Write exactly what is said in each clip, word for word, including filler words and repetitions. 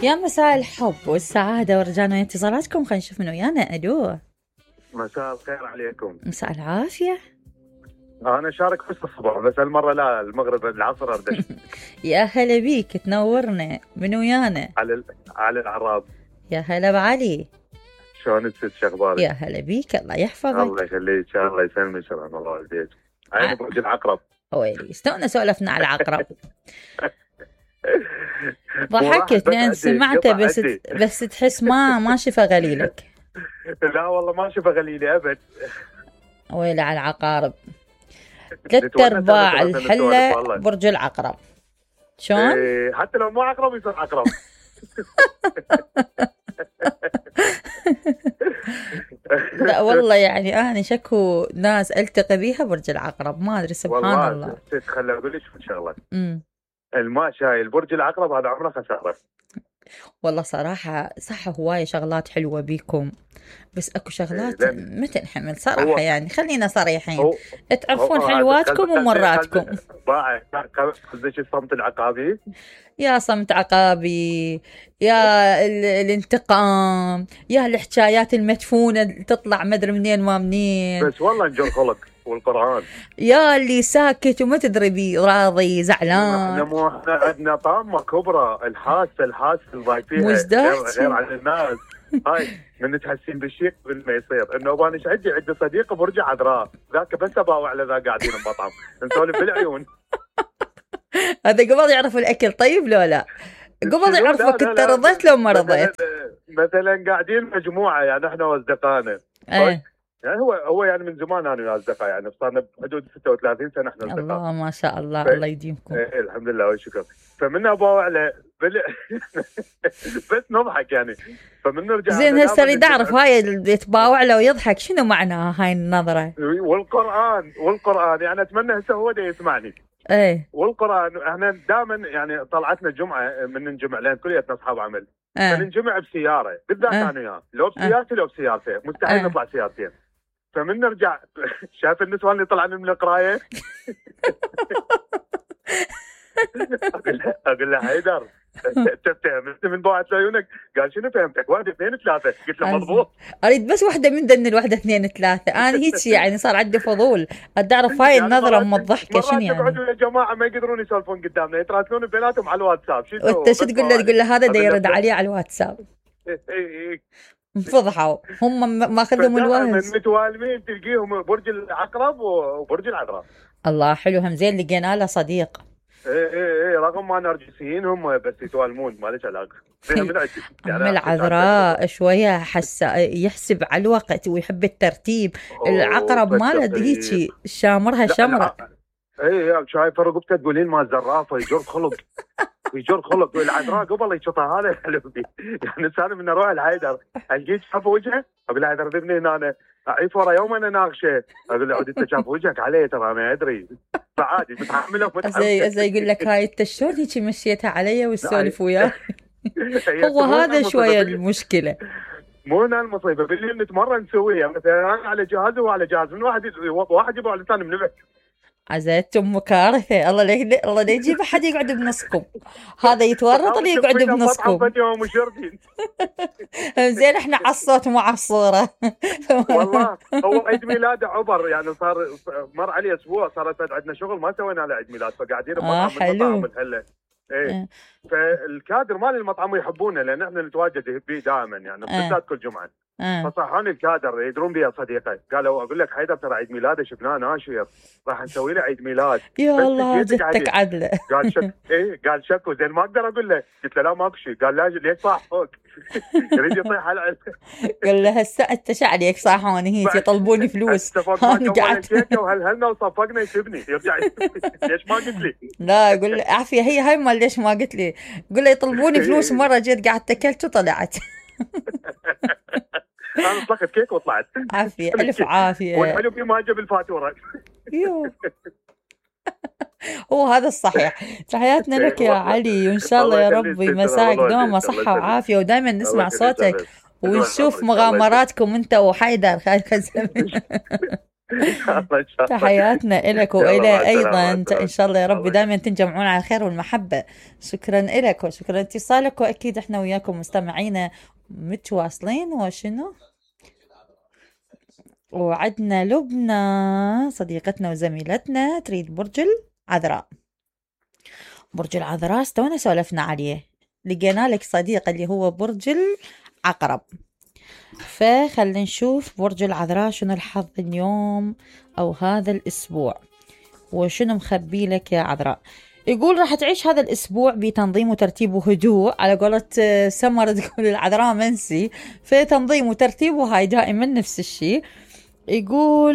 يا مساء الحب والسعادة ورجعنا انتصاراتكم. خلينا نشوف من ويانا. الو. مساء الخير عليكم. مساء العافية. انا شارك بس الصبح، بس هالمرة لا، المغرب العصر اردش. يا هلا بيك، تنورنا. من ويانا؟ على ال... على العراب. يا هلا بعلي. شلون الست، شخبارك؟ يا هلا بيك، الله يحفظك. الله يخليك، الله يسلمك، سلام الله والديك. عيني برج العقرب. ويلي استونا سولفنا على العقرب. ضحكت لان سمعته بس بس تحس ما ما شفى غليلك. لا والله ما شفى غليلي ابد. ويلي على العقارب. ثلاث ارباع الحله برج العقرب. شلون؟ إيه، حتى لو مو عقرب يصير عقرب. لا والله يعني انا شكو ناس التقي بيها برج العقرب، ما ادري سبحان والله الله. خليني اقول لك شغله. امم الماء شايل برج العقرب هذا عمره خساره. والله صراحة صح، هواية شغلات حلوة بيكم، بس اكو شغلات ما تنحمل صراحة. يعني خلينا صريحين، تعرفون حلواتكم ومراتكم. قصدك الصمت العقابي؟ يا صمت عقابي، يا الانتقام، يا الحكايات المدفونة تطلع مدري منين ما منين. بس والله نجر خلق والقرآن. يا اللي ساكت وما تدري بي راضي زعلان. احنا مو احنا عندنا طامة كبرى، الحاسة الحاسة اللي فيها غير, غير عن الناس. هاي من تحسين بالشيء قبل ما يصير. انه انا عندي عندي صديق برج عذراء، ذاك بس اباوع على ذا قاعدين بمطعم نسولف بالعيون. هذا قبل يعرف الاكل طيب لو لا؟ قبل يعرفك انت رضيت لو ما رضيت. مثلا قاعدين مجموعة يعني احنا واصدقائنا. ايه. يعني هو هو يعني من زمان انا وياه اصدقاء، يعني صارنا بحدود ستة وثلاثين سنه احنا اصدقاء. الله ما شاء الله. ف... الله يديمكم. ايه الحمد لله والشكر. فمن اباوع له بل... بس نضحك يعني. فمن نرجع زين هسه اريد اعرف هاي اللي يتباوع له ويضحك شنو معناها هاي النظره؟ والقران والقران يعني اتمنى هسه هو ده يسمعني. ايه. والقران احنا دائما يعني طلعتنا جمعه من نجمع لان كلياتنا اصحاب عمل. أه. فننجمع بسياره بالذات أه. انا وياه، لو بسيارتي لو بسيارته، مستحيل أه. نطلع سيارتين. فمن نرجع شايف النسوان اللي طلعنا من القرايه. اقول له اقول له حيدر انت فهمت من بعد عيونك؟ قال شنو فهمتك؟ واحد اثنين ثلاثه. قلت له مضبوط. اريد بس واحده من ذن الواحده اثنين ثلاثه. انا هيك يعني صار عندي فضول ادي اعرف هاي النظره ام الضحكه شنو يعني. مرات يقعدوا يا جماعه ما يقدرون يسولفون قدامنا، يتراسلون بيناتهم على الواتساب. شو وانت شو تقول له؟ تقول له هذا دا يرد عليه على الواتساب. فضحوا هم ماخذهم الوهز. متوالمين تلقيهم برج العقرب وبرج العذراء. الله حلو، هم زين لقينا له صديق. ايه ايه ايه رغم ما نرجسيين هم بس يتوالمون ما ليش علاقه. يعني العذراء شويه حس يحسب على الوقت ويحب الترتيب. العقرب ماله هيك شامرها شمره. ايه شايف رقبته تقولين ما زرافه يجر خلق. يجر خلق. والعذراء قبل يشطها هذا حلوبي. يعني انا من اروح الحيدر القيت شاف وجهه اقول له حيدر ذبني هنا اعيف ورا يوم انا ناقشه اقول له عاد انت شاف وجهك علي ترى انا ادري. فعادي متحمله ومتحمله. زي زي يقول لك هاي انت شلون هيك مشيتها علي وتسولف وياه. هو هذا شويه المشكله. مو هنا المصيبه باللي نتمرن نسويها مثلا انا على جهاز وهو على جهاز، من واحد واحد يبغى على الثاني منبه. عزيزتم كارثه. الله ليه الله ليه يجيب احد يقعد بنصكم. هذا يتورط اللي يقعد بنصكم. زين احنا على الصوت مو على الصوره. والله هو عيد ميلاده عبر يعني صار مر عليه اسبوع صارت عندنا شغل ما سوينا له عيد ميلاد فقاعدين آه بمطعم الحله. ايه فالكادر مال المطعم يحبونه لان احنا نتواجد به دائما يعني بالذات كل جمعه. أه. فصحوني الكادر يدرون بي صديقي قالوا اقول لك حيدر ترى عيد ميلاده شفناه ناشر راح نسوي له عيد ميلاد. يا الله جدتك عدله. قال شك ايه قال شكو زين ما اقدر اقول له. قلت له لا ماكو شيء. قال لا ليش صاح فوق. يريد يطيح على. قال له هسه انت شعليك صاحوني هيك يطلبوني فلوس. انا قعدت وهلهلنا وصفقنا يسبني يرجع. ليش ما قلت لي؟ لا اقول له عافيه هي هاي مال ليش ما قلت لي. قول له يطلبوني فلوس مره جيت قعدت اكلت وطلعت. انا طلقت كيك وطلعت. عافيه الف عافيه. والحلو في ما جاب الفاتوره. يو هو هذا الصحيح. تحياتنا لك يا علي وان شاء الله يا ربي مساك دوما صحه وعافيه ودائما نسمع صوتك ونشوف مغامراتكم انت وحيدر خالد الزمن. ان شاء الله ان شاء الله. تحياتنا إلك وإلى أيضا إن شاء الله يا رب دائما تنجمعون على الخير والمحبة. شكرا إلك وشكرا اتصالك، وأكيد إحنا وياكم مستمعين متواصلين. وشنو وعدنا لبنى صديقتنا وزميلتنا تريد برج العذراء. برج العذراء استونا سولفنا عليه، لقينا لك صديق اللي هو برج العقرب. فخلنا نشوف برج العذراء شنو الحظ اليوم أو هذا الأسبوع، وشنو مخبي لك يا عذراء. يقول راح تعيش هذا الأسبوع بتنظيم وترتيب وهدوء، على قولة سمر تقول العذراء منسي، فتنظيم وترتيب وهاي دائما نفس الشيء. يقول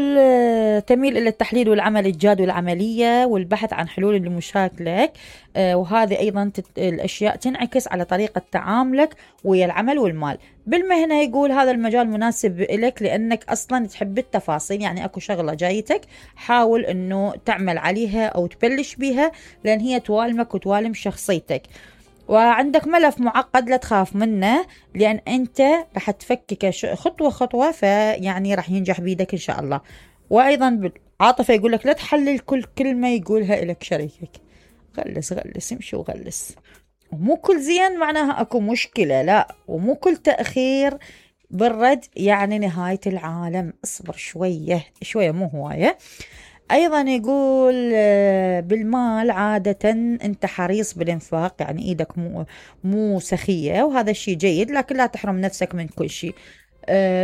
تميل إلى التحليل والعمل الجاد والعملية والبحث عن حلول لمشاكلك، وهذه أيضا الأشياء تنعكس على طريقة تعاملك ويا العمل والمال. بالمهنة يقول هذا المجال مناسب لك لأنك أصلا تحب التفاصيل، يعني أكو شغلة جايتك حاول أنه تعمل عليها أو تبلش بيها لأن هي توالمك وتوالم شخصيتك. وعندك ملف معقد لا تخاف منه لأن أنت رح تفكك خطوة خطوة، فيعني رح ينجح بيدك إن شاء الله. وأيضا بالعاطفة يقول لك لا تحلل كل كلمة يقولها لك شريكك، غلس غلس امشي وغلس. ومو كل زين معناها أكو مشكلة، لا، ومو كل تأخير بالرد يعني نهاية العالم. اصبر شوية شوية مو هواية. أيضا يقول بالمال عادة أنت حريص بالإنفاق، يعني إيدك مو, مو سخية وهذا الشيء جيد، لكن لا تحرم نفسك من كل شيء.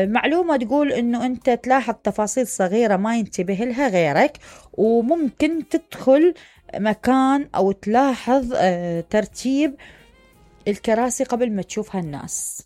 معلومة تقول أنه أنت تلاحظ تفاصيل صغيرة ما ينتبه لها غيرك، وممكن تدخل مكان أو تلاحظ ترتيب الكراسي قبل ما تشوفها الناس.